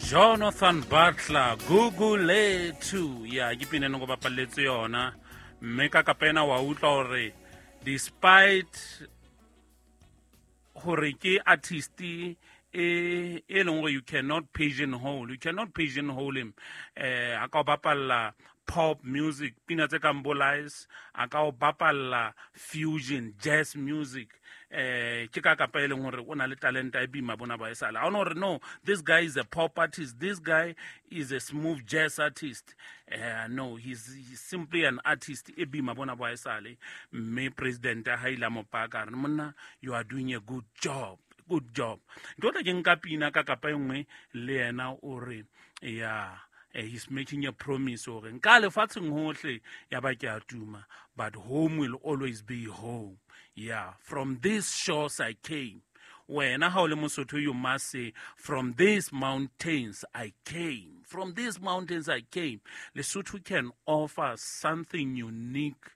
Jonathan Butler, Gugulethu. Ya, ke pina e neng go bapalletse yona. Mme ka kapena wa utlwa hore despite hore ke artist e leng gore you cannot pigeonhole, you cannot pigeonhole him. A ka o bapalla pop music, pina tse kang bo Lies, a ka o bapalla fusion jazz music. Ke ka kapa e leng hore o na le talenta e bima bona ba esale. Ha ona hore no, this guy is a pop artist, this guy is a smooth jazz artist. No, he's simply an artist e bima bona ba esale. Mme president ha ile a mo paka, a re, monna, you are doing a good job, good job. Ntho tla ke nka pina ka kapa e nngwe le yena o re, yeah, he's making a promise hore nka lefatsheng hohle ya ba ke a tuma, but home will always be home. Yeah, from these shores I came. Wena ha o le Mosotho, you must say, from these mountains I came. From these mountains I came. Lesotho can offer something unique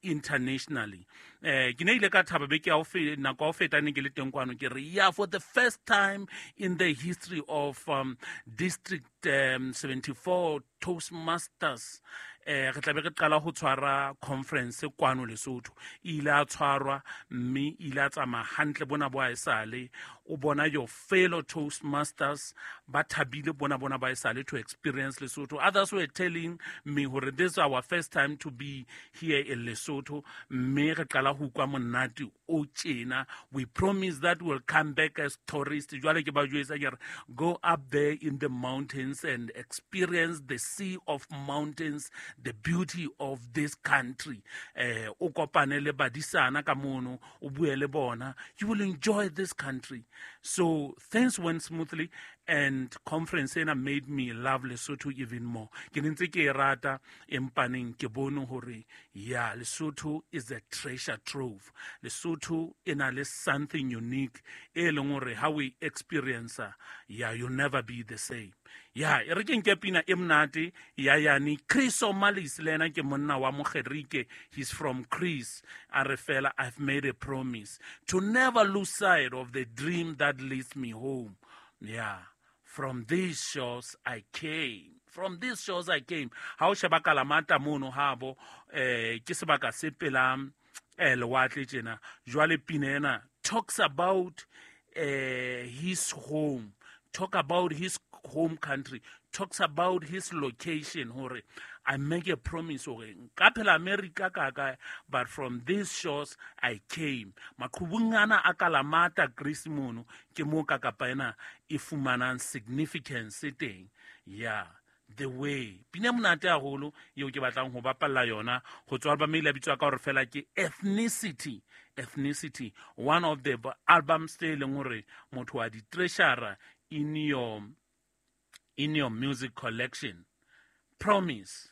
internationally. Ke ne ile ka thaba beke ya ho nako ya ho feta ne ke le teng kwano, ke re, yeah, for the first time in the history of District 74 Toastmasters, re tla be re qala ho tshwara conference kwano Lesotho. E ile a tshwarwa mme e ile a tsamaya hantle bona bo haesale. O bona your fellow Toastmasters ba thabile bona bona ba haesale to experience Lesotho. Others were telling me hore this is our first time to be here in Lesotho, mme re qala ho utlwa monate o tjena. We promise that we'll come back as tourists. Jwale ke ba jwetsa ke re, go up there in the mountains and experience the sea of mountains, the beauty of this country. O kopane le badisana ka mono, o bue le bona, you will enjoy this country. So things went smoothly, and conference ena made me love Lesotho even more. Ke ne ntse ke e rata, empaneng ke bone hore, yeah, Lesotho is a treasure trove. Lesotho e na le something unique e leng hore ha o e experience, yeah, you'll never be the same. Yeah, e re ke nke pina e monate ya yane Chris O'Malis, le yena ke monna wa Mogerike, he's from Greece. A re fela, I've made a promise to never lose sight of the dream that leads me home. Yeah, from these shores I came. From these shores I came. Ha o sheba Kalamata mono habo, ke sebaka se pela, lewatle tjena. Jwale pina ena talks about his home, talk about his home country, talks about his location. Hore I make a promise hore nka phela America ka kae, but from these shores I came. Maqhubung ana a Kalamata Greece mono ke mo ka kapa ena e fumanang significance teng. Yeah, the way. Pina monate haholo eo ke batlang ho bapalla yona ho tswa album e ile ya bitswa ka hore fela ke Ethnicity. Ethnicity, one of the albums tse leng hore motho wa di treasure in your music collection. Promise.